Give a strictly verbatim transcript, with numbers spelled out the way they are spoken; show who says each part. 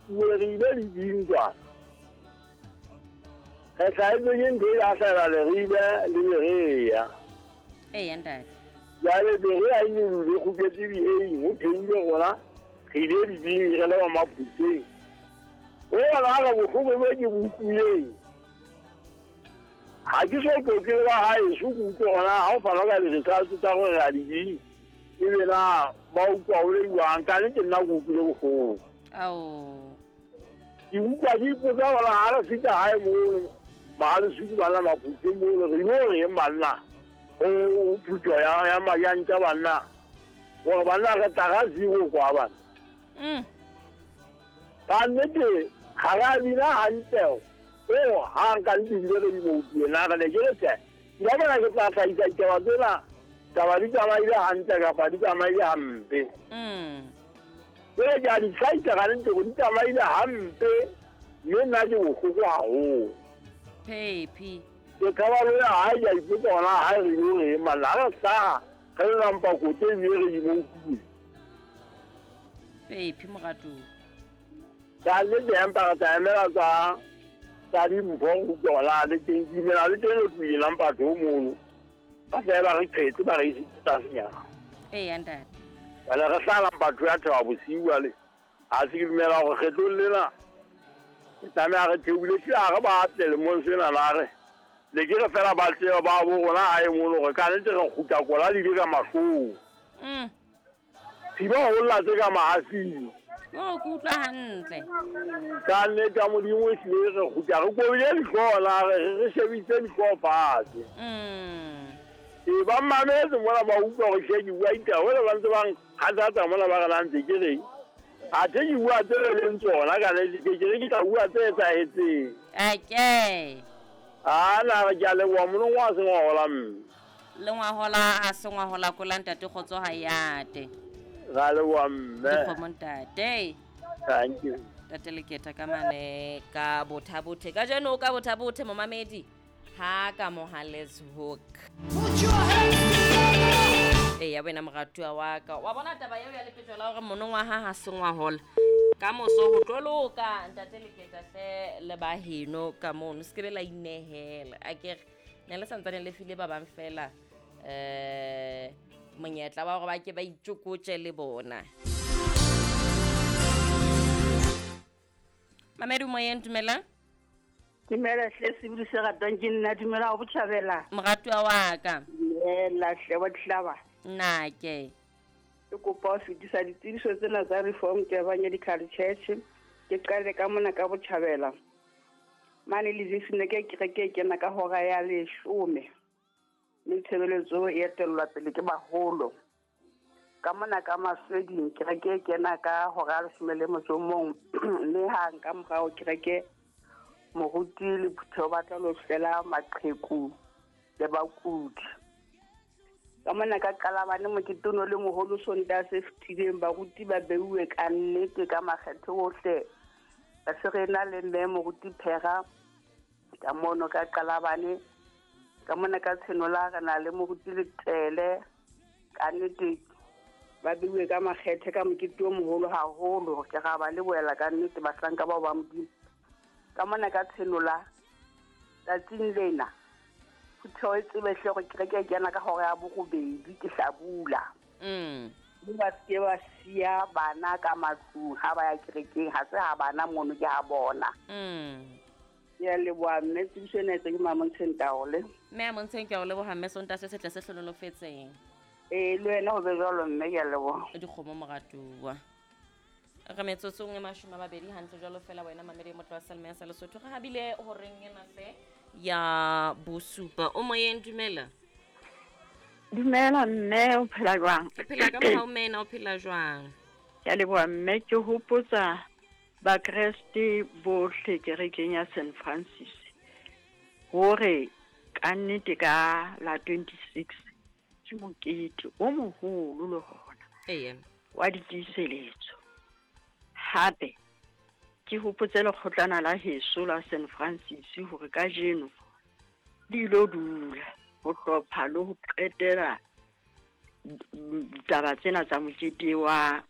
Speaker 1: Re ile dibing kwana. Re hlahetswe ke ntho e la hlahela Leribe le Berea.
Speaker 2: Eya ntate.
Speaker 1: Jwale Berea e nyolohile e kgutletse Dieng, ho theohile rona re ile dibing re le ba Maphutseng. O bona re bohloko bo ke bo utlwileng. Ha ke so tlotle le ba haeso ke utlwe hore na ha o fanwa ka di-results tsa hore re a dibing, ebe na ba utlwa ho le jwang. Ka nnete nna ke utlwile bohloko.
Speaker 2: Ao.
Speaker 1: Ke utlwa ke ipotsa hore ha re fihla hae mono Mahaleswiki banna Maphutseng mono re ilo reng banna ho phutuho ya ya Majantja banna hore banna re tla ka zero kwa bana.
Speaker 2: Mm.
Speaker 1: Ka nnete ha re a bina hantle ho hang ka nnete ebile re di mo utlwile na re ne ke re tjhe ke la bona ke tla hlahisa ditaba tsena taba di tsamaile hantle kapa di tsamaile hampe.
Speaker 2: Mm.
Speaker 1: Jwale ke a di hlahisa ka nnete hore di tsamaile hampe mme nna ke bohloko haholo.
Speaker 2: Phephi.
Speaker 1: Ke tshaba le ya hae ke a ipotsa hore na hae re ilo reng banna ha re hlaha re le nampa kote ebile re di mo utlwile.
Speaker 2: Phephi moratuwa.
Speaker 1: Ka nnete empa re tla emela tsa tsa dimpho ho utlwa hore na le teng ke dumela le teng le tlohile nampa tho mono. Ba fela ba re qhetse ba re isitse tlasenyana.
Speaker 2: Eya ntate.
Speaker 1: Jwale re hlaha Mpatho ya theoha bosiu jwale. Ha se ke dumela hore kgetlong lena ke tlameha re theohile ehlile ha re batle lemong sena na re ne ke re fela ba tsebe ba bo rona hae mono hore ka nnete re kgutla kola le ile ka mahlong.
Speaker 2: Mm.
Speaker 1: Thiba ho lla tse ka mahafing.
Speaker 2: Oh, ke utlwa hantle.
Speaker 1: Ka nnete ya Modimo ehlile re kgutla re kobile dihlooho la re re shebisitse dihlooho fatshe.
Speaker 2: Mm.
Speaker 1: Ee, ba mmametse mona ba utlwa hore hle ke bua ditaba jwale ba ntse ba nkgathatsa mona ba re na ntse ke reng. Athe ke bua tse re leng tsona ka nnete ke ke re ke tla bua tse etsahetseng.
Speaker 2: Ake.
Speaker 1: Ah, na re ke a leboha monongwa ha se ngwahola mme.
Speaker 2: Le ngwahola ha se ngwahola kola ntate kgotso ha yate.
Speaker 1: Ra leboha mme.
Speaker 2: Dikgomo ntate.
Speaker 1: Thank you.
Speaker 2: Ntate Leketa ka mane ka bothabothe. Kajeno o ka bothabothe momamedi. Ha ka Mohale's Hoek. Eya wena moratuwa wa ka. Wa bona taba eo ya lepetjo la hore monongwaha ha se ngwahola. Ka moso ho tlo loka ntate Leketa hle le ba heno ka mono. Se ke be la inehela. Akere ne le santsane le file ba bang fela eh monyetla wa hore ba ke ba itjokotje le bona. Mamedi moyeng dumela.
Speaker 3: Dumela hle sebodi se ratwang ke nna, dumela ho botjhabela.
Speaker 2: Moratuwa wa ka.
Speaker 3: Dumela hle wa dihlaba.
Speaker 2: Nnake.
Speaker 3: Ke kopa ho fetisa ditsebiso tsena tsa Reformed Evangelical Church. Ke qale ka mona ka botjhabela. Mane le Livingstone ke kereke e kena ka hora ya leshome. Mme tshebeletso e etellwa pele ke baholo. Ka mona ka Masweding kereke e kena ka hora ya leshome le motso o mong. Mme hang ka morao kereke moruti le phutheho ba tla lo hlela maqheku le bakudi. Ka mona ka Qalabane mokete ono le moholo Sontaha se fetileng, baruti ba beuwe ka nnete ka makgethe ohle. Re se re na le mme moruti Phera ka mono ka Qalabane. Ka mona ka Tshenola re na le moruti Letele. Ka nnete ba beuwe ka makgethe ka mokete o moholo haholo. Ke ra ba lebohela ka nnete bahlanka bao ba Modimo. Ka mona ka Tshenola tsatsing lena phutheho e tsebe hle hore kereke e kena ka hora ya borobedi ke hlabula.
Speaker 2: Mm.
Speaker 3: Mme ba se ke ba siya bana ka matlung ha ba ya kerekeng, ha se ha bana mono ke ha bona.
Speaker 2: Mm.
Speaker 3: Ke a leboha mme, tsebiso ena e tswe ke Mamontsheng Taole.
Speaker 2: Mme a Montsheng ke a o leboha mme, Sontaha se setle se hlonolofetseng.
Speaker 3: Ee, le wena ho be jwalo mme, ke a leboha.
Speaker 2: Dikgomo moratuwa. Re metsotsong e mashome a mabedi hantle jwalo fela wena mamedi motho wa Salma ya sa Lesotho. Re habile horeng ena hle ya bosupa. O moyeng, dumela.
Speaker 4: Dumela mme, o phela jwang?
Speaker 2: Ke phela ka mohau mme, o phela jwang?
Speaker 4: Ke a leboha mme, ke hopotsa Bakreste bohle kerekeng ya Saint Francis hore ka nnete ka la twenty-six ke mokete o moholo le hona.
Speaker 2: Eya.
Speaker 4: Wa ditiiseletso. Hape ke hopotse lekgotlana la heso la Saint Francis hore kajeno le ilo dula ho hlopha le ho qetela ditaba tsena tsa mokete wa